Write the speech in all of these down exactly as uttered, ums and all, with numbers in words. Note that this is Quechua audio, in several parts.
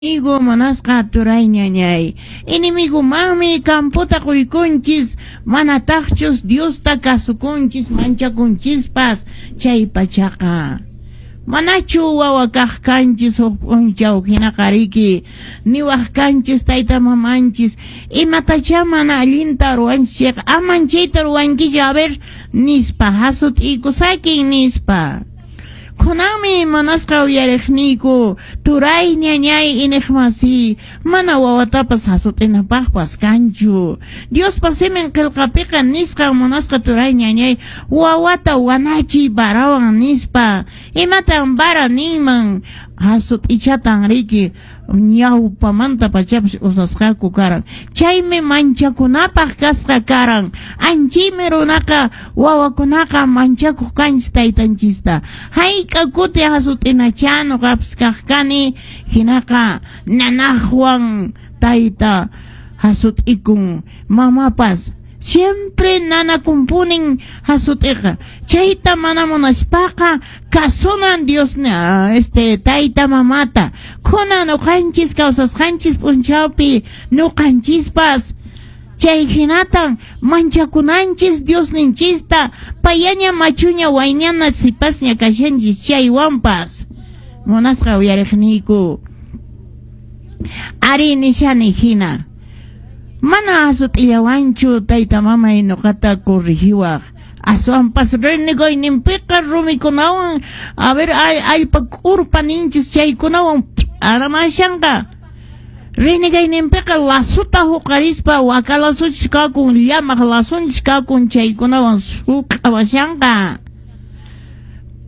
Enemigo munasqa turay ñañay. Enemigumanmi camputa quykunchis, manataqchus Diosta kasukunchis, manchakunchispas chay pachaqa. Manachu wawa kaq kanchis huk p'unchaw hinaqa riki, niwaq kanchis tayta mamanchis, imatachá mana allinta ruwanchis chayqa, aman chayta ruwankichu a ver nispa, hasut'iykusakin nispa. Kunanmi munasqa uyariqniyku, turay ñañay iniqmasi, mana wawatapas hasut'inapaqpas kanchu. Diospa simin qillqapiqa nisqan munasqa turay ñañay, wawata wanachiy varawan nispa. Imatan vara ninman? Hasut'ichatan riki ñawpamanta pachapas usasqaku karan. Chaymi manchakunapaq kasqa karan. Anchaymi runaqa wawakunaqa manchakuq kanchis taytanchista. Hayk'a kuti hasut'inachá nuqapas kaq kani, hinaqa nanaqwan tayta hasut'ikun, mamapas siempre nanakunpunin hasut'iqa. Chayta mana munaspaqa kasunan Dios este tayta mamata. Kunan nuqanchis kawsasqanchis p'unchawpi nuqanchispas chay hinatan manchakunanchis Diosninchista, payaña machuña wayñana sipasña kashanchis chaywanpas. Munasqa uyariqniyku, ari nishani hina. Mana hasut'illawanchu tayta mamay nuqata corrigiwaq. Aswanpas renegayninpiqa rumikunawan, a ver, allpa k'urpa ninchis chaykunawan aramashanqa. Renegayninpiqa lasuta huqarispa waka lasuchis kakun, llamaq lasunchis kakun chaykunawan suq'awashanqa.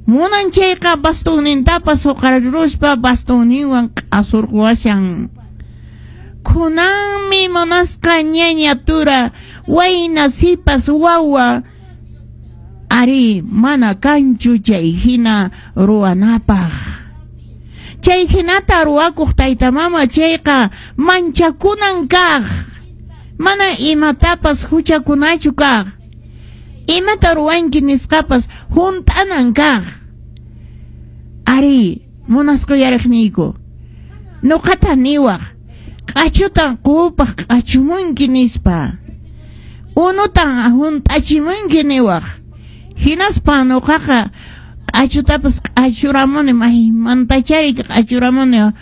Munan chayqa bastonnintapas huqariruspa bastonninwan q'asurquwashan. Kunanmi munasqa ñaña tura, wayna sipas wawa, ari mana kanchu chay hina ruwanapaq. Chay hinata ruwakuq tayta mama chayqa manchakunan kaq, mana imatapas huchakunachu kaq, imata ruwanki nisqapas hunt'anan kaq. Ari munasqa uyariqniyku, nuqata niwaq, q'achutan qupaq q'achumunki nispa, unutan hunt'achimunki niwaq. Hinaspa nuqaqa q'achutapas q'achuramuni, maymantachari q'achuramuni,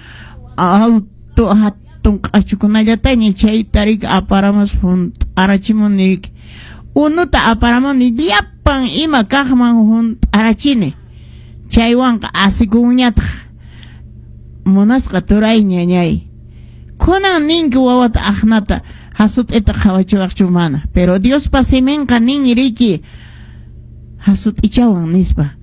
alto hatun q'achukunallataña chayta riki aparamus hunt'arachimuni riki. Unuta aparamuni llapan ima kaqman hunt'arachini, chaywanqa asikunñataq. Munasqa turay ñañay, kunan ninki wawata aqnata hasut'ita qhawachiwaqchu mana, pero Diospa siminqa nin riki hasut'ichawan nispa.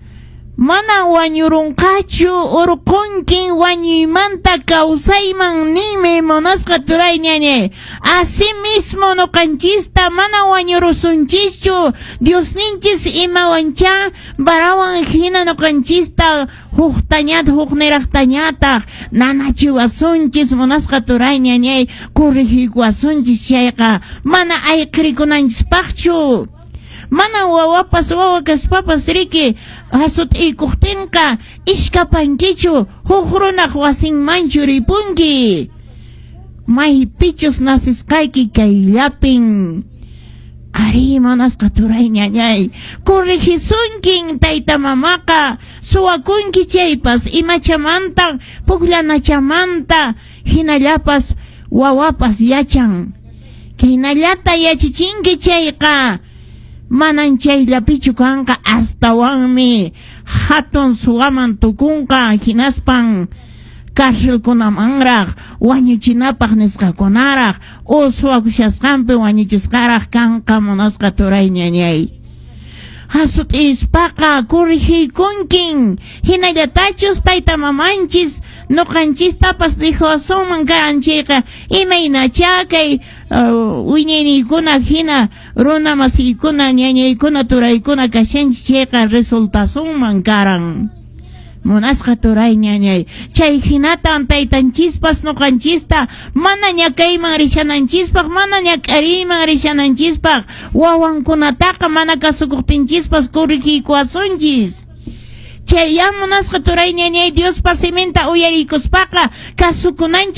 Mana wañurunqachu, urqunkin wañuymanta kawsayman ninmi munasqa turay ñañay. Así mismo nuqanchista mana wañurusunchischu, Diosninchis imawanchá varawan hina nuqanchista huktañata hukniraqtañataq nanachiwasunchis munasqa turay ñañay, corrigikuwasunchis chayqa mana ayqirikunanchispaqchu. Mana wawapas wawa kaspapas riki hasut'iykuqtinqa ishkapankichu, huk runaq wasinmanchu ripunki. Maypichus nasisqayki kayllapin. Ari munasqa turay ñañay, corrigisunkin tayta mamaqa, suwakunki chaypas imachamanta pukllanachamanta hinallapas wawapas yachan. Hinallata yachichinki chayqa manan chayllapichu kanqa, astawanmi hatun suwaman tukunqa, hinaspan cárcelkunamanraq wañuchinapaq nisqakunaraq o suwakushasqanpi wañuchisqaraq kanqa munasqa turay ñañay. Hasut'ispaqa corrigiykunkin, hinallatachus tayta mamanchis nuqanchistapas dijosunman karan chayqa, imaynachá kay wiñayniykuna hina runa masiykuna ñañaykuna turaykuna kashanchis chayqa resultasunman karan. Munasqa turay ñañay, chay hinatan taytanchispas nuqanchista mana ñakayman rishananchispaq, mana ñak'ariyman rishananchispaq, wawankunataqa mana kasukuqtinchispas corrigiykuwasunchis. Chay munasqa turay ñañay Diospa siminta uyarikuspaqa kasukunanchis.